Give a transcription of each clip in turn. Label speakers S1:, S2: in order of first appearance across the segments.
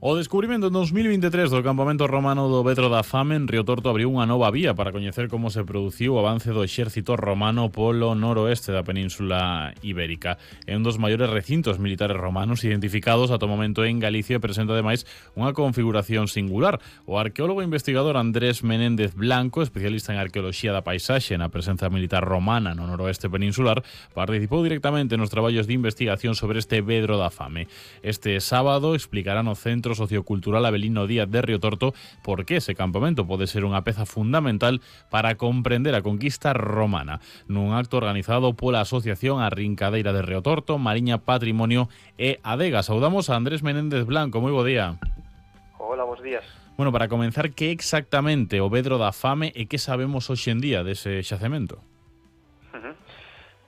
S1: O descubrimento en 2023 do campamento romano do Vedro da Fame en Río Torto abriu unha nova vía para coñecer como se produciu o avance do exército romano polo noroeste da Península Ibérica. É un dos maiores recintos militares romanos identificados ata o momento en Galicia e presenta ademais unha configuración singular. O arqueólogo e investigador Andrés Menéndez Blanco, especialista en arqueoloxía da paisaxe na presenza militar romana no noroeste peninsular, participou directamente nos traballos de investigación sobre este Vedro da Fame. Este sábado explicará no Centro Sociocultural Avelino Díaz de Río Torto por que ese campamento pode ser unha peza fundamental para comprender a conquista romana. Nun acto organizado pola Asociación A Rincadeira de Río Torto, Mariña Patrimonio e Adega. Saudamos a Andrés Menéndez Blanco. Moi bo día.
S2: Hola, bons días.
S1: Bueno, para comenzar, que exactamente o Vedro da Fame e que sabemos hoxe en día dese xacemento?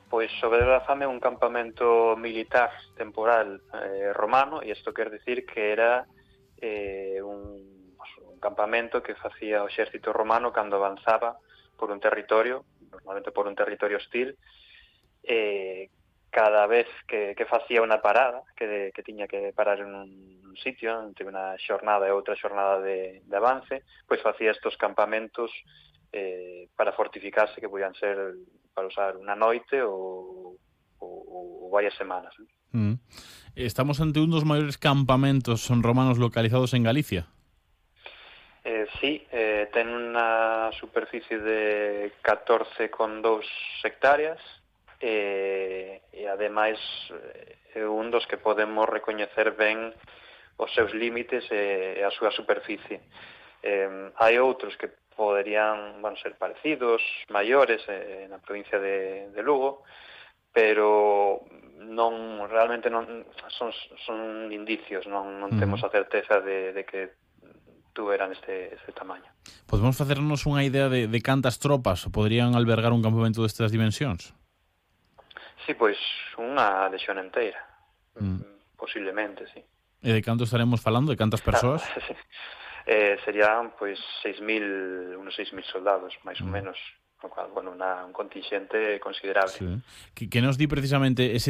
S2: Pois o Vedro da Fame é un campamento militar temporal romano, e isto quer dicir que era un campamento que facía o exército romano cando avanzaba por un territorio, normalmente por un territorio hostil, cada vez que facía unha parada, que tiña que parar en un sitio, entre unha xornada e outra xornada de avance, pois facía estos campamentos para fortificarse, que podían ser para usar unha noite ou varias semanas.
S1: Estamos ante un dos maiores campamentos romanos localizados en Galicia.
S2: Sí, ten unha superficie de 14,2 hectáreas e ademais é un dos que podemos recoñecer ben os seus límites e a súa superficie. Hai outros que poderían ser parecidos, maiores, na provincia de Lugo, pero realmente non son indicios, non temos a certeza de que tuveran este tamaño.
S1: Podemos facernos unha idea de cantas tropas poderían albergar un campamento destas dimensións?
S2: Sí, pois unha lexión inteira, posiblemente, sí.
S1: E de canto estaremos falando? De cantas persoas?
S2: Serían pois unos 6.000 soldados, máis ou menos, o cual, un contingente considerable.
S1: Sí. Que nos di precisamente ese